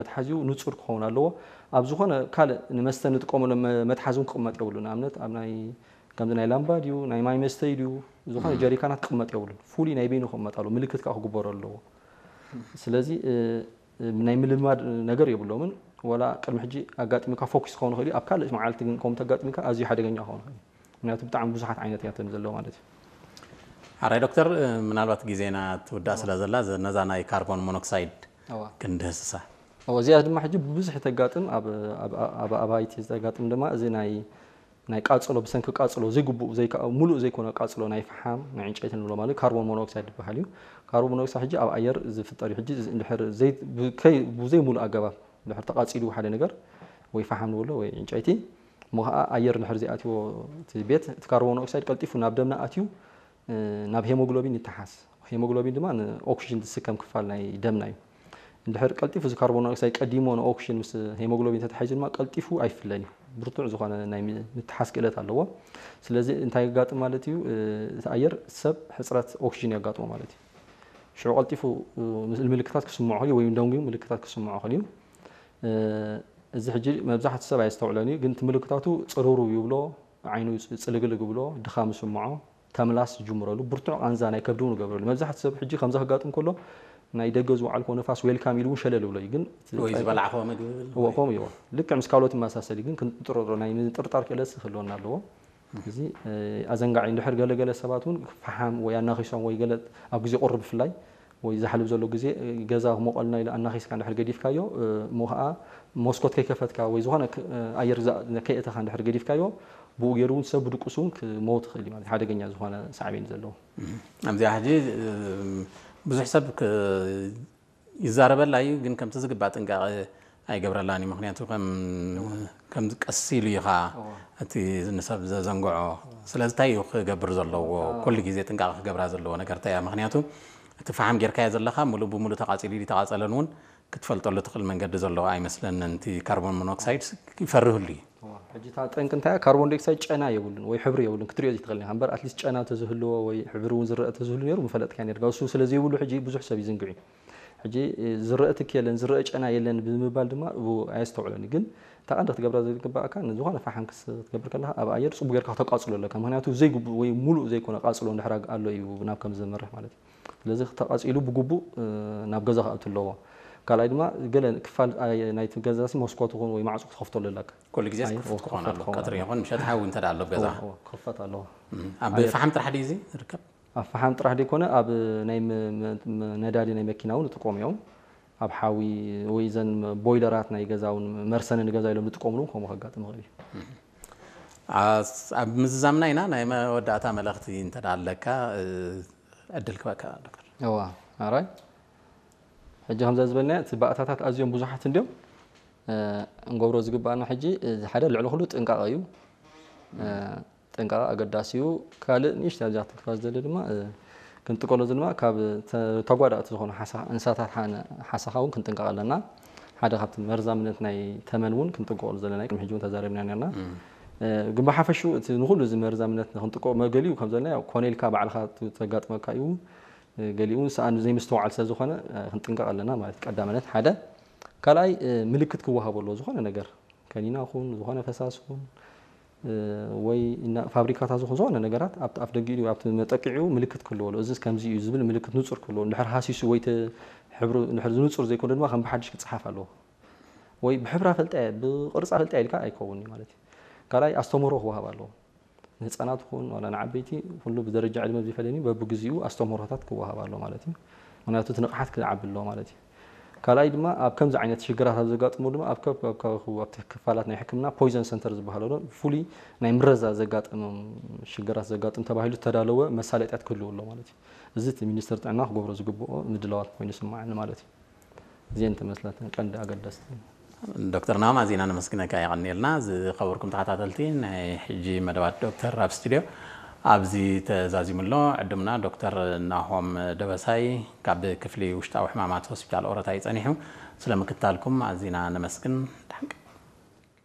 መትሓዚኡ ንጹር ክኸውን ኣለዎ። ኣብ ዝኾነ ካልእ ንመስተ ንጥቀመሉ መ- መትሓዚ እውን ክቕመጥ የብሉ። ንኣብነት ኣብ ናይ ከምዚ ናይ ላምባ ድዩ ናይ ማይ መስተይ ድዩ ዝኾነ ጀሪካናት ክቕመጥ የብሉን። ፍሉይ ናይ በይኑ ክቕመጥ ኣለዎ። ምልክት ከዓ ክግበሮ ኣለዎ። ስለዚ እ፣ እ፣ ናይ ምልማድ ነገር የብሎምን። ወላ ቅድሚ ሕጂ ኣጋጢሙካ ፎኪስ ክኸውን ይኽእል እዩ። ኣብ ካልእ መዓልቲ ግን ከምኡ ተጋጢሙካ ኣዝዩ ሓደገኛ ክኸውን ይኽእል እዩ። ምክንያቱ ብጣዕሚ ብዙሓት ዓይነት እያተን ዘለዎ ማለት እዩ። ሓራይ ዶክተር፣ ምናልባት ግዜና ትውዳእ ስለ ዘላ ዘ- ነዛ ናይ ካርቦን ሞኖክሳይድ እዋ። ክንድህስሳ። እዎ፣ እዚኣ ድማ ሕጂ ብብዝሒ ተጋጥም ኣብ ኣብ- ኣብ ኣባይቲ ተጋጥም ድማ እዚ ናይ ናይ ቃጽሎ ብሰንኪ ቃጽሎ ዘይግቡእ ዘይከ- ሙሉእ ዘይኮነ ቃጽሎ ናይ ፈሓም ናይ ዕንጨይቲ ንብሎ ማለት ካርቦን ሞኖክሳይድ ዝበሃል እዩ። ካርቦን ሞኖክሳይድ ሕጂ ኣብ ኣየር ዝፍጠር እዩ። ሕጂ እንድሕር ዘይ- ብከይ- ብዘይ ሙሉእ ኣገባብ እንድሕር ተቃጺሉ ሓደ ነገር ወይ ፈሓም ንብሎ ወይ ዕንጨይቲ እሞ ከዓ ኣየር እንድሕር ዘይኣትዎ እቲ ቤት እቲ ካርቦን ሞኖክሳይድ ቀልጢፉ ናብ ደምና ኣትዩ ናብ ሄሞግሎቢን ይተሓዝ። ሄሞግሎቢን ድማ ንኦክሲጅን ዝስከም ክፋል ናይ ደምና እዩ። እንድሕር ቀልጢፉ እዚ ካርቦን ዳይኦክሳይድ ቀዲሞ ንኦክሲጅን ምስ ሄሞግሎቢን ተተሓሒዙ ድማ ቀልጢፉ ኣይፍለን እዩ። ብርቱዕ ዝኾነ ናይ ምትሓዝ ክእለት ኣለዎ። ስለዚ እንታይ የጋጥም ማለት እዩ? እቲ ኣየር ሰብ ሕፅረት ኦክሲጅን የጋጥሞ ማለት እዩ። ሽዑ ቀልጢፉ ምልክታት ክስምዖ ክእል ወይ ደንጉዩ ምልክታት ክስምዖ ክእል እዩ። እዚ ሕጂ መብዛሕትኡ ሰብ ኣየስተውዕሎን እዩ፣ ግን እቲ ምልክታቱ ፅርሩ ይብሎ፣ ዓይኑ ፅልግልግ ይብሎ፣ ድኻም ይስምዖ፣ ተምላስ ይጅምረሉ፣ ብርቱዕ ቃንዛ ናይ ከብዲ እውን ይገብረሉ። መብዛሕትኡ ሰብ ሕጂ ከምዚ ከጋጥም ከሎ ናይ ደገ ዝወዓልክዎ ንፋስ ዌልካም ኢሉ እውን ሸለል ይብሎ እዩ። ግን ወይ ዝበላዕክዎ ምግቢ እዎ ከምኡ እዩ። ልክዕ ምስ ካልኦት ይመሳሰል እዩ፣ ግን ክንጥርጥሮ ናይ ምጥርጣር ክእለት ክህልወና ኣለዎ። እዚ ኣዘንጋዒ እንድሕር ገለገለ ሰባት እውን ፈሓም ወይ ኣናኺሶም ወይ ገለ ኣብ ግዜ ቁሪ ብፍላይ ወይ ዛሕሊ ኣብ ዘሎ ግዜ ገዛ ክሞቐልና ኢሉ ኣናኺስካ እንድሕር ገዲፍካዮ እሞ ከዓ መስኮት ከይከፈትካ ወይ ዝኾነ ኣየር ከየእተኻ እንድሕር ገዲፍካዮ ብኡ ገይሩ እውን ሰብ ብድቁስ እውን ክመውት ይኽእል እዩ ማለት ሓደገኛ ዝኾነ ሳዕቤን ዘለዎ። ኣብዚኣ ሕጂ ብዙሕ ሰብ ይዛረበላ እዩ፣ ግን ከምቲ ዝግባእ ጥንቃቐ ኣይገብረላን እዩ። ምክንያቱ ከም ከም ቀስ ኢሉ ኢኻ እቲ ንሰብ ዘዘንግዖ። ስለዚ እንታይ እዩ ክገብር ዘለዎ? ኩሉ ግዜ ጥንቃቐ ክገብራ ዘለዎ ነገር እንታይ እያ? ምክንያቱ እቲ ፈሓም ጌርካዮ ዘለኻ ሙሉእ ብሙሉእ ተቓፂሉ ድዩ ተቓፀለን እውን ክትፈልጠሉ ትኽእል መንገዲ ዘለዎ ኣይመስለንን። እቲ ካርቦን ሞኖክሳይድ ይፈርህሉ እዩ። ሕጂ እታ ጠንቂ እንታይ እያ? ካርቦን ዳይኦክሳይድ ጨና የብሉን ወይ ሕብሪ የብሉን፣ ክትሪኦ ዘይትኽእል ኢኻ። እምበር ኣትሊስት ጨና ተዝህልዎ ወይ ሕብሪ እውን ዝረአ ተዝህሉ ነይሩ ምፈለጥካ ነርካ። እሱ ስለዘይብሉ ሕጂ ብዙሕ ሰብ ይዝንግዕ እዩ። ሕጂ ዝረአ ትኪ የለን ዝረአ ጨና የለን ብምባል ድማ ኣየስተውዕሎን እዩ። ግን እታ ቀንዲ ክትገብራ ዝግባእካ ንዝኾነ ፈሓም ክትገብር ከለካ ኣብ ኣየር ፅቡቅ ጌርካ ክተቃፅሎ ኣለካ። ምክንያቱ ዘይግቡእ ወይ ሙሉእ ዘይኮነ ቃፅሎ እንድሕር ኣሎ እዩ ናብ ከም ዘምርሕ ማለት እዩ። ስለዚ ተቃፂሉ ብግቡእ ናብ ገዛ ክኣቱ ኣለዎ። ካልኣይ ድማ ገለ ክፋል ናይቲ ገዛ መስኮት ይኹን ወይ ማዕፁ ክትኸፍተሉ ኣለካ። ኩሉ ግዜ ክፉት ክኾን ኣለዎ። ቀትሪ ይኹን ምሸት ሓዊ እንተ ኣሎ ኣብ ገዛ ክኽፈት ኣለዎ። ኣብ ፈሓም ጥራሕ ድዩ እዚ ዝርከብ? ኣብ ፈሓም ጥራሕ ዘይኮነ ኣብ ናይ ነዳዲ ናይ መኪና እውን ይጥቀሙ እዮም። ኣብ ሓዊ ወይ ዘን ቦይለራት ናይ ገዛ እውን መርሰኒ ንገዛ ኢሎም ዝጥቀምሉ እውን ከምኡ ከጋጥም ይኽእል እዩ። ኣብ ምዝዛምና ኢና። ናይ መወዳእታ መልእኽቲ እንተ ኣለካ ዕድል ክበካ ዶክተር። እዋ ኣራይ ሕጂ ከምዛ ዝበልና እቲ ባእታታት ኣዝዮም ብዙሓት እንዲዮም። እንገብሮ ዝግባኣና ሕጂ ሓደ ልዕሊ ኩሉ ጥንቃቐ እዩ። ጥንቃቐ ኣገዳሲ እዩ። ካልእ ንእሽተይ ኣብዚኣ ክትንክፋ ዝደሊ ድማ ክንጥቀሎ ድማ ካብ ተጓዳእቲ ዝኾኑ እንስሳታት ሓሳኻ እውን ክንጥንቀቕ ኣለና። ሓደ ካብቲ መርዛምነት ናይ ተመን እውን ክንጥንቀቐሉ ዘለና ቅድሚ ሕጂ እውን ተዛሪብና ነርና። ግን ብሓፈሹ እቲ ንኩሉ እዚ መርዛምነት ንክንጥንቀቕ መገሊኡ ከም ዘለና ኮነ ኢልካ ባዕልካ ተጋጥመካ እዩ። ገሊኡ እውን ሰኣን ዘይምስተውዓል ስለ ዝኾነ ክንጥንቀቕ ኣለና ማለት ቀዳመነት ሓደ። ካልኣይ ምልክት ክወሃቦ ኣለዎ ዝኾነ ነገር ከኒና ኹን ዝኾነ ፈሳሲ ኹን ወይ ፋብሪካታት ዝኾን ዝኾነ ነገራት ኣብቲ ኣፍ ደጊኡ ኣብቲ መጠቂዒኡ ምልክት ክህልዎ ኣለዎ። እዚ ከምዚ እዩ ዝብል ምልክት ንፁር ክህልዎ እንድሕር ሃሲሱ ወይ ሕብሩ እንድሕር ዝንፁር ዘይኮነ ድማ ከም ብሓድሽ ክፀሓፍ ኣለዎ። ወይ ብሕብራ ፈልጠ ብቅርፃ ፈልጠ ኢልካ ኣይከውን ማለት እዩ። ካልኣይ ኣስተምህሮ ክወሃብ ኣለዎ። ንህፃናት ኹን ዋላ ንዓበይቲ ኩሉ ብደረጃ ዕድመ ዝፈለኒ በብግዚኡ ኣስተምህሮታት ክወሃብ ኣሎ ማለት እዩ። ምክንያቱ እቲ ንቕሓት ክዓቢ ኣለዎ ማለት እዩ። ካልኣይ ድማ ኣብ ከምዚ ዓይነት ሽግራት ኣብ ዘጋጥሙ ድማ ኣብቲ ክፋላት ናይ ሕክምና ፖይዘን ሰንተር ዝበሃሉ ብፍሉይ ናይ ምረዛ ዘጋጠሞም ሽግራት ዘጋጥም ተባሂሉ ዝተዳለወ መሳለጥያት ክህልው ኣሎ ማለት እዩ። እዚ እቲ ሚኒስትር ጥዕና ክገብሮ ዝግብኦ ምድላዋት ኮይኑ ይስማዓኒ ማለት እዩ። እዚአን ተመስላተን ቀንዲ ኣገደስቲ። ዶክተር ናሆም ኣዚና ነመስግነካ የቐንየልና። ዝኸበርኩም ተኸታተልቲ ናይ ሕጂ መደባት ዶክተር ኣብ ስቱድዮ ኣብዚ ተዛዚሙ ኣሎ። ዕዱምና ዶክተር ናሆም ደበሳይ ካብ ክፍሊ ውሽጣዊ ሕማማት ሆስፒታል ኦሮታ እዩ ጸኒሑ። ስለ ምክታልኩም ኣዚና ነመስግን።